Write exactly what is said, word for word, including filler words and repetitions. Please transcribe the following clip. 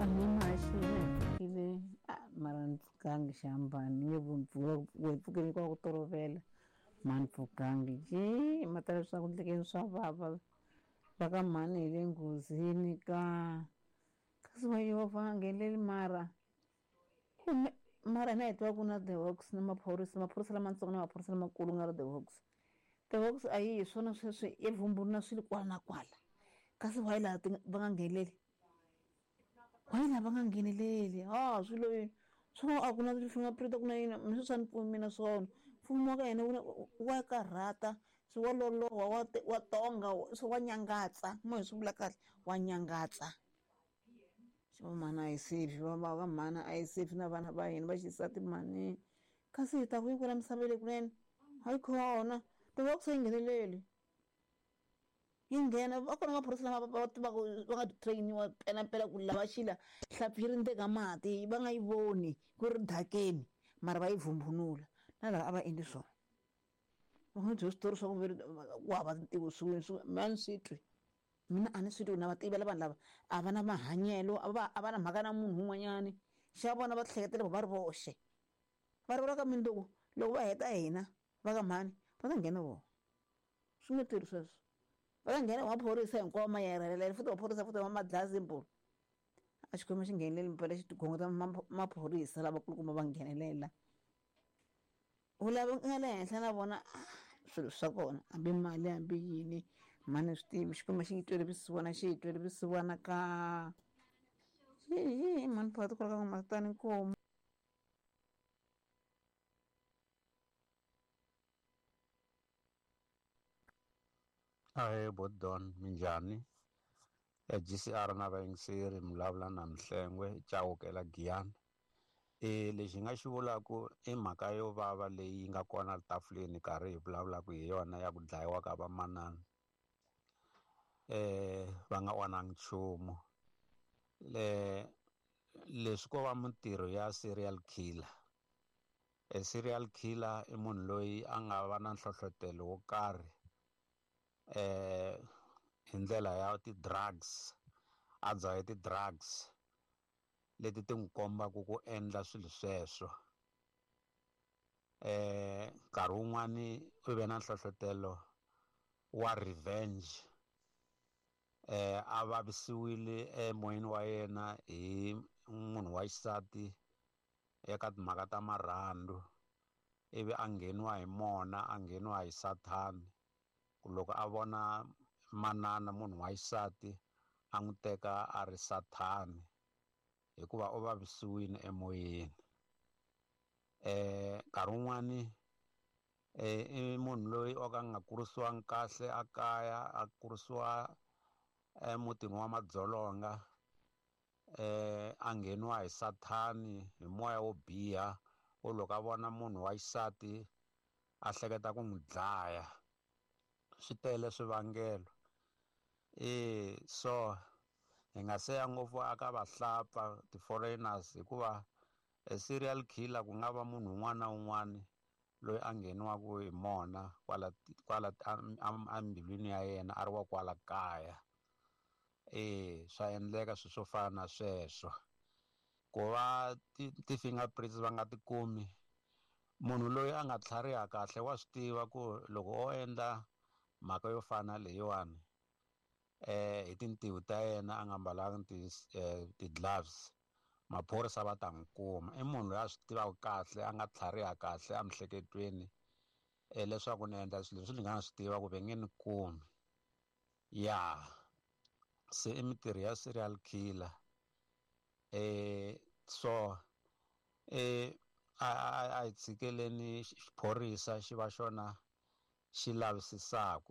Ahee mara ni pfukangi xihambano ni nge vo pfukeni kwa ku tolovela ma ni pfukangi je ma ta leswaku ndlekeni swa vava va ka mhani hi le nghozini ka kasi wa Yehovha nga ngheneleli mara kumbe mara hina hi tiva ku na the hawks na maphorisa maphorisa lamatsongo na maphorisa lamakulu nga ri the hawks the hawks a yi hi swona sweswi i vumbhuri na swilo kwala na kwala kasi why laha va nga ngheneleli why laha va nga ngheneleli ha swilo swo a ku na ti-fingerprint ku na yini mina swi a ni pfumi mina swona mfumo wa ka hina wa karhata swi wa loloha wa wa tonga swi wa nyangatsa mo hi swi vula kahle wa nyangatsa xo mhani a yi safe va va ka mhani a yi safe na vana va hina va xisati mhani kasi hi ta ku yi kwala misaveni kunene hayi khona ti-hawks a yi ngheneleli yi nghena va kona maphorisa lama va tivaka va nga train-iwa mpelampela ku lava xila hlampfi yi ri ndzeni ka mati va nga yi voni ku ri dakeni mara va yi vumbunula na lava a va endli swona va nga byela switori swa ku ve ku hava ntivo swin'we swi mina a ni swi twi mina a ni swi twi na va tivela vanhu lava a va na mahanyelo a va a va na mhaka na munhu un'wanyani xa vona va hleketela va ri voxe va ri vula ka mundzuku loko va heta hina va ka mhani va ta nghena vona swi nge tirhi sweswo va ta nghena maphorisa hinkwawo ma yerhelela futhi maphorisa futhi ma dlaya simple a xikwembu xi ngheneleli mpela xi tigongota maphorisa lavakulukumba va nghenelela u lava nga le henhla na vona swilo swa kona hambi mali hambi yini mhani swi tivi xikwembu xi yi twele vusiwana xi yi twele vusiwana ka yi mhani phakathi kwala ka n'wamatani nkomu. Ahee Bodon, minjhani? E G C R na vayingiseri mi vulavula na Mhlengwe Chauke la Giyani. E lexi hi nga xi vulaku i mhaka yo vava leyi nga kona tafuleni karhi hi vulavulaka hi yona ya ku dlayiwa ka vamanana eh va nga onhangi nchumu. Le leswi ko va mintirho ya serial killer. E serial killer i munhu loyi a nga va na nhlohlotelo wo karhi eh hi ndlela ya ti-drugs a dzahe ti-drugs leti ti n'wi kombaka ku endla swilo sweswo. Eh nkarhi wun'wani u ve na nhlohlotelo wa revenge eh a vavisiwile emoyeni wa yena hi munhu wa xisati eka timhaka ta marhandzu ivi a ngheniwa hi mona a ngheniwa hi sathani ku loko a vona manana munhu wa xisati a n'wi teka a ri sathani hikuva u vavisiwile emoyeni. Eh nkarhi wun'wani eh i munhu loyi o ka a nga kurisiwangi kahle a kaya a kurisiwa emutini wa madzolonga eh a ngheniwa hi sathani hi moya wo biha wo loko a vona munhu wa xisati a hleketa ku n'wi dlaya. Swi tele swivangelo e so hi nga se ya ngopfu aka vahlapfa ti-foreigners hikuva e serial killer ku nga va munhu un'wana na un'wana loyi a ngheniwaka hi mona kwala kwala embilwini ya yena a ri wa kwala kaya. E swa endleka swilo swo fana na sweswo ku va ti-fingerprints va nga ti kumi munhu loyi a nga tlhariha kahle wa swi tiva ku loko o endla mhaka yo fana leyiwani eh hi tintiho ta yena a nga mbalanga ti ti-gloves maphorisa va ta n'wi kuma. I munhu loyi a swi tivaka kahle a nga tlhariha kahle emiehleketweni leswaku ni endla swilo leswi ni nga swi tiva ku ve nge ni kumi. Ya se i mintirho ya serial killer eh so eh a a hi tshikeleni xiphorisa xi va xona xi lavisisaka.